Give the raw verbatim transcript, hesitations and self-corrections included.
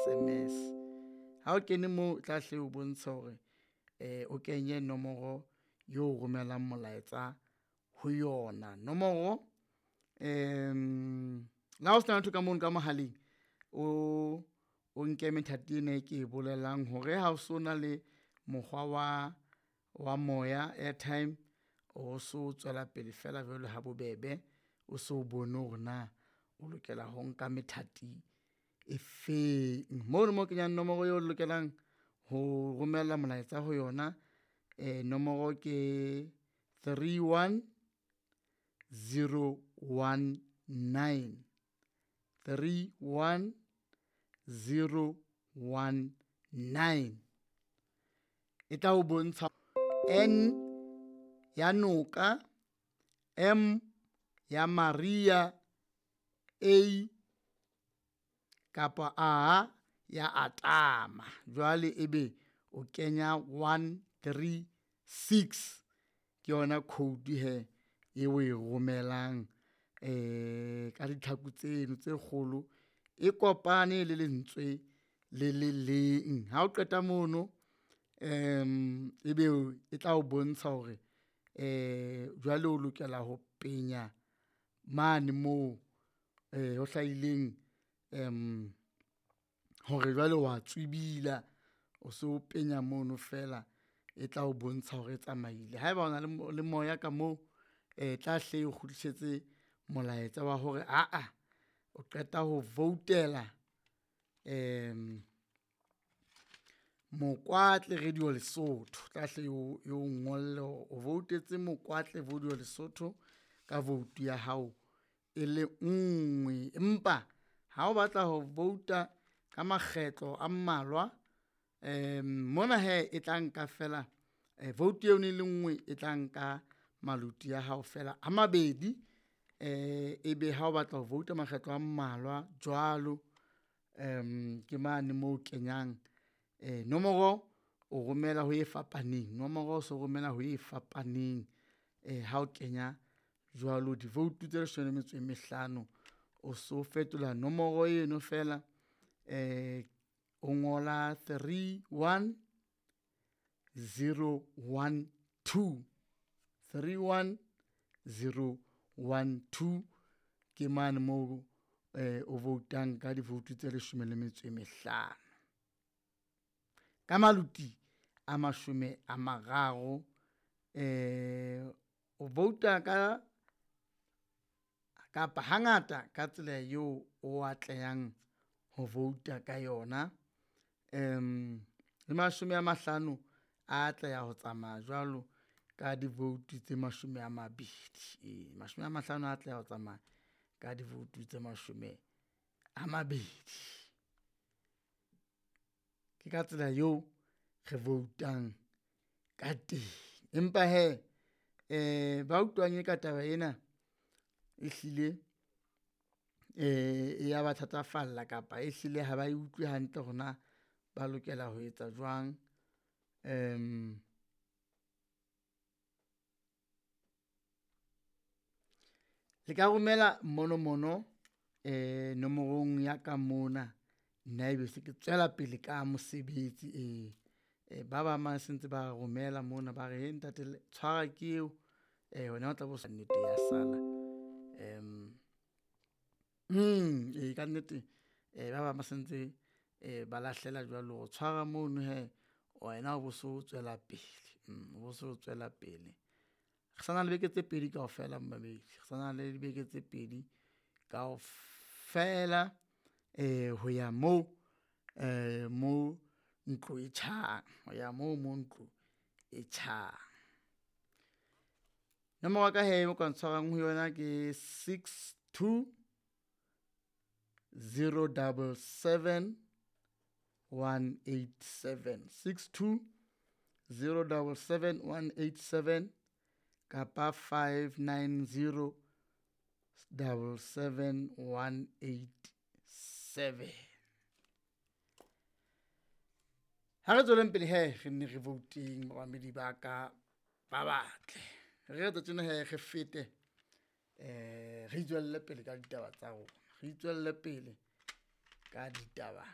S M S. Ha o kene moo tla hle o bontsha hore eh o kenye nomoro yo romelang molaetsa ho yona. Nomoro em la ho sena letho ka mono ka mohaleng o o nke methati ena e ke e bolelang hore ha o so na le mokgwa wa wa moya airtime o so tswela pele feela jwalo ha bobebe, o so bone hore na o lokela ho nka methati e feng. Mono mo kenyang nomoro eo lokelang ho romella molaetsa ho yona nomoro ke three one zero one nine, three one zero one nine. E tla o bontsha N ya noka, M ya Maria, A kapa A ya Atama. Jwale ebe o kenya one three six ke yona code hee e o e romelang ka ditlhaku tseno tse kgolo e kopane le lentswe le le leng. Ha o qeta mono ebe e tla o bontsha hore jwale o lokela ho penya mane moo ho hlahileng hore jwale wa tswibila, o so penya mono fela e tla o bontsha hore e tsamaile. Haeba o na le moya ka moo e tla hle o kgutlisetse molaetsa wa hore aa o qeta ho voutela Mokoatle Radio Lesotho, tla hle e o ngolle hore o voutetse Mokoatle Radio Lesotho ka vote ya hao e le nngwe. Empa ha o batla ho vouta ka makgetlo a mmalwa mona hee e tla nka fela vote eno e le nngwe e tla nka maluti a hao fela a mabedi. Ebe ha o batla ho vouta makgetlo a mmalwa jwalo ke mane moo kenyang nomoro o romela ho e fapaneng, nomoro o so romela ho e fapaneng ha o kenya jwalo di-vote tse leshome le metso e mehlano. O so fetola nomoro eno fela o ngola three one zero one two, three one zero one two ke mane moo o voutang ka di-vote tse leshome le metso e mehlano. Ka maluti a mashome a mararo o vouta ka kapa hangata ka tsela eo o atlehang ho vouta ka yona. Le mashome a mahlano a atleha ho tsamaya jwalo ka di-vote tse mashome a mabedi, ee mashome a mahlano a atleha ho tsamaya ka di-vote tse mashome a mabedi. Ke ka tsela eo re voutang ka teng, empa hee ba utlwang e ka taba ena ehlile e ya ba thatafalla kapa ehlile ha ba e utlwe hantle hore na ba lokela ho etsa jwang. Le ka romela mmonomono nomorong ya ka mona, nna ebe se ke tswela pele ka mosebetsi ee. Ba bang ba se ntse ba romela mona ba re ntate tshwara ke eo, wena o tla be o nnete ya sala. Ee kannete ba bang ba sentse ba lahlela jwalo hore tshwara mono hee wena o bo so tswela pele, o bo so tswela pele. Re sa na le beke tse pedi kaofela momamedi, re sa na le dibeke tse pedi kaofela ho ya moo mo ntlo e tjhang, ho ya moo mo ntlo e tjhang. Nomoro ya ka hee o ka ntshwarang ho yona ke six two zero double seven one eight seven, six two zero double seven one eight seven kapa five nine zero double seven one eight seven. Ha re tsweleng pele hee re nne re vouteng bamamedi ba ka ba batle. Re re tjena hee re fete re itswelle pele ka ditaba tsa rona, re itswelle pele ka ditaba.